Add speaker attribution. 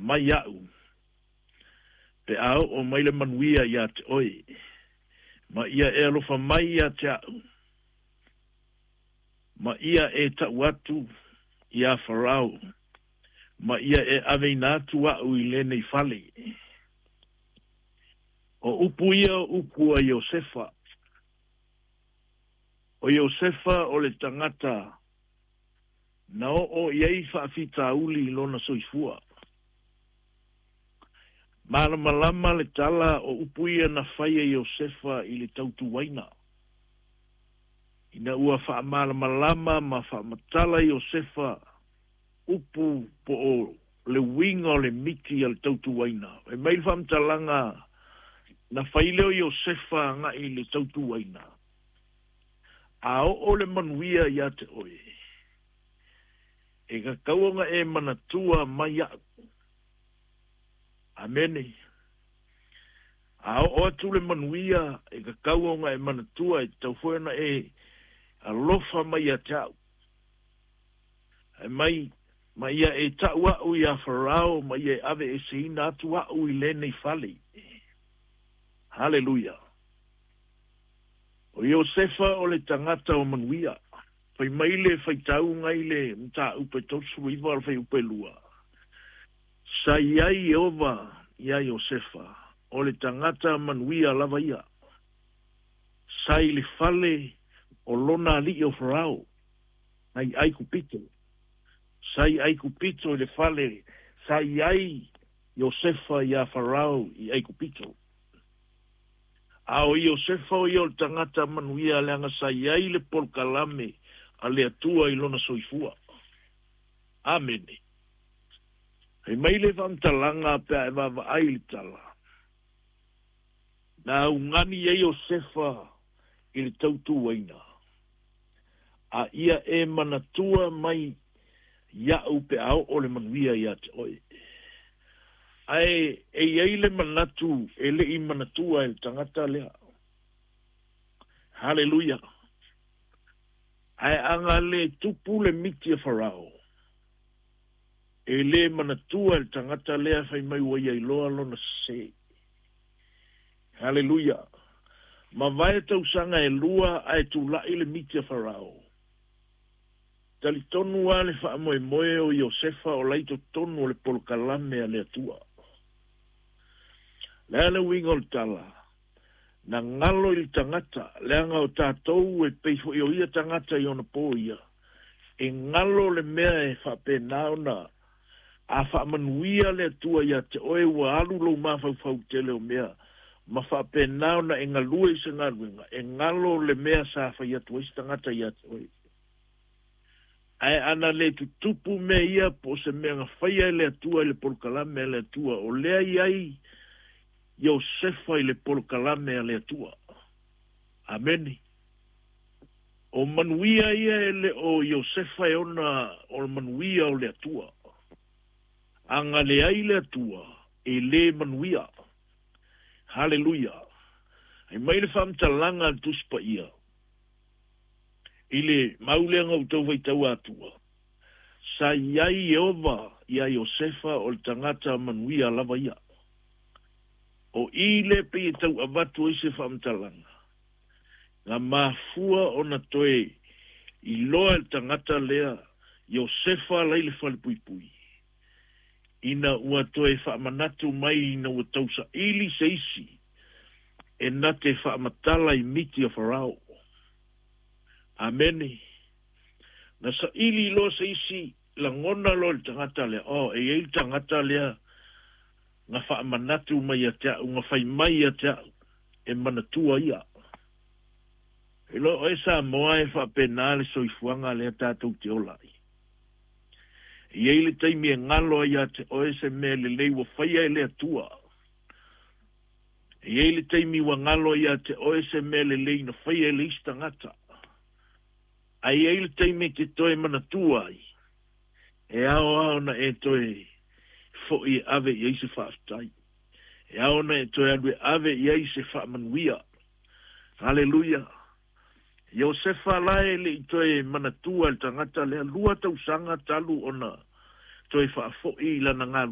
Speaker 1: mai iaʻu, pe a oo mai le manuia iā te oe, ma ia e alofa mai iā te aʻu, ma ia e taʻu atu iā Farao, ma ia e aveina atu aʻu i lenei fale. O upu ia o upu a Iosefa. O Iosefa o le tagata na oo i ai faafitauli i lona soifua. Malamalama le tala o upu ia na fai e Iosefa i le tautuaina. Ina ua faamalamalama ma faamatala Iosefa upu po o le uiga o le miti a le tautuaina. Fai mai le faamatalaga na fai lea o Iosefa agai i le tautuaina, A oo le manuia ia te oe, e tatau ona e manatua mai iaʻu. Amene. A oo atu le manuia, e tatau ona e manatua, e tatau foi ona e alofa mai ia te au. Fai mai, ma ia e taʻu aʻu iā Farao, ma ia e aveeseina atu aʻu i lenei fale. Haleluia! O Iosefa o le tagata o manuia. Fai mai le faitauga i le mataupu e 39 o le fuaiupu e 2, Sa i ai Ieova iā Iosefa, o le tagata manuia lava ia. Sa i le fale o lona alii o Farao, nai Aikupito. Sa i Aikupito i le fale sa i ai Iosefa iā Farao i Aikupito. A o Iosefa o ia o le tagata manuia leaga sa i ai le polokalame a le Atua i lona soifua. Amene. Fai mai le faamatalaga pe a e vaavaai i le tala. Na augani ai Iosefa i le tautuaina, a ia e manatua mai iaʻu pe a oo le manuia ia te oe. Ae e i ai le manatu e le i manatua e le tagata lea. Haleluia! Ae a na le tupu le miti a Farao, e le manatua e le tagata lea fai mai ua ia iloa lona sese. Haleluia! Mavae tausaga e lua ae tulaʻi le miti a Farao. Talitonu lava le faamoemoe o Iosefa o la i totonu o le polokalame a le Atua. O le a le uiga o le tala? Na galo i le tagata, leaga o tatou e pei foi o ia tagata i ona po ia, e galo le mea e faapena ona a faamanuia le Atua ia te oe ua alu lou mafaufau i tele o mea ma faapena ona e galue i se galuega, e galo le mea sa fai atu ai se tagata ia te oe. Ae a na le tutupu mea ia po o se mea na faia e le Atua i le polokalame a le Atua, o lea i ai Iosefa i le polokalame a le Atua. Amene. O manuia ia e le o Iosefa e ona o manuia o le Atua. A na leai le Atua, e le manuia. Haleluia! Fai mai le faamatalaga a le Tusi Paia. I le mau lea na ou tau faitaua atua, sa i ai Ieova iā Iosefa o le tagata manuia lava ia. O i lea pei e tau avatu ai se faamatalaga, na mafua ona toe iloa e le tagata lea Iosefa la i le falepuipui, ina ua toe faamanatu mai ina ua tausaili se isi e na te faamatala i miti a Farao. Amene. Na saili loa se isi lagona loa i le tagata lea, Oh, e i ai le tagata lea na faamanatu mai ia te au, na fai mai ia te au, e manatua ia. E iloa oe Samoa e faapena le soifuaga lea tatou te ola ai. E i ai le taimi e galo ai ia te oe se mea lelei ua faia e le Atua. E i ai le taimi ua galo ia te oe se mea lelei na faia e le isi tagata. Ae i ai le taimi e te toe manatua ai, e ao lava ona e toe foʻi e ave i ai se faafetai. E ao ona e toe alu e ave i ai se faamanuia. Haleluia! Iosefa la e le i toe manatua e le tagata lea, lua tausaga talu ona toe faafoi i lana galuega.